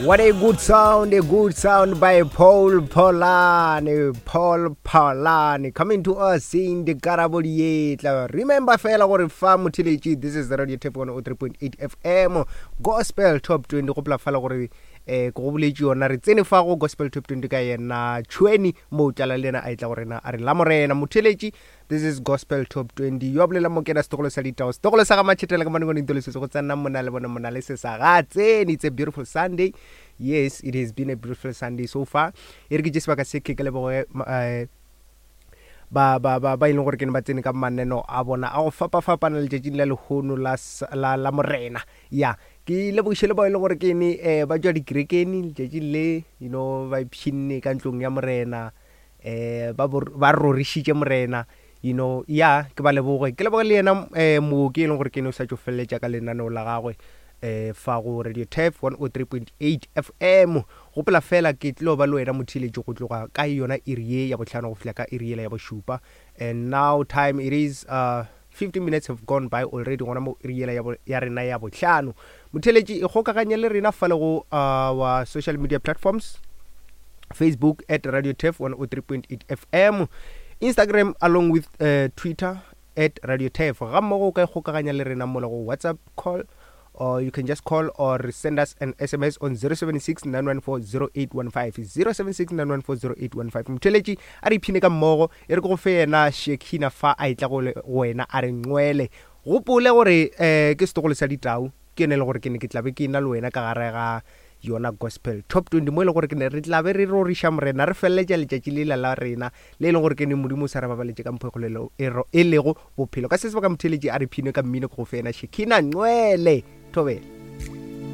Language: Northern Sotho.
What a good sound, a good sound by Paul Polani. Paul Polani coming to us saying the Karabo Dietla. Remember fela gore fa motheletši this is the Radio Tap 103.8 FM Gospel Top 20 go pla fela gore eh ke go boletše yona re tsene fa go Gospel Top 20 ka yena Tšhweni mo tlala le yena a etla go rena a re la morena motheletši This is Gospel Top 20. Yo a bolela mo kena setogolo sa ditao. Setogolo sa ga Machetela ka manengwane ntolo se go tsena mona le bona mona le se sa ga tsene. It's a beautiful Sunday. Yes, it has been a beautiful Sunday so far. E re ke tše sebaka se ke ke leboge eh, ba ba ba ba e leng gore ke ne ba tsene ka maneno a bona a go fapafapana letšatšing la lehono la la la morena ya ke lebogiše le bao e leng gore ke ne eh, ba tšwa dikerekeng letšatšing le you know ba ipshinne ka ntlong ya morena eh ba ba rorišitše morena you know ya ke ba leboge ke leboge le yena eh mooki e leng gore ke ne o sa tšo feleletša ka lenaneo la gagwe eh fa go radio tef 103.8 fm gopola fela ke tlo ba le wena motheeletši go tloga ka yona iri ye ya bohlano go fihla ka iri yela ya bošupa and now time it is uh 15 minutes have gone by already gona mo iri yela ya rena ya bohlano motheletši e kgokaganye le rena fa le go our social media platforms facebook at radio tef 103.8 fm instagram along with uh, twitter at radio tef ga mmogo o ka ikgokaganya le rena mola go whatsapp call or you can just call or send us an sms on 076 914 0815 076 914 0815 motheletši a re iphine ka mmogo e re ke go fe yena shekina fa a etla go wena a re nqwele gopole gore um ke setogolo sa ditau ke yone e le gore ke ne ke tlabe ke na le wena ka gare ga yona gospel top 20 mo e le gore ke ne re tlabe re roriša morena re feleletša letšatši lela la rena le e leng gore ke ne modimo o sa re babaletše ka mpho e kgolelo e, e lego bophelo ka se sebaka motheletši a re phine ka mmino ke go fena shekina nqwele thobela.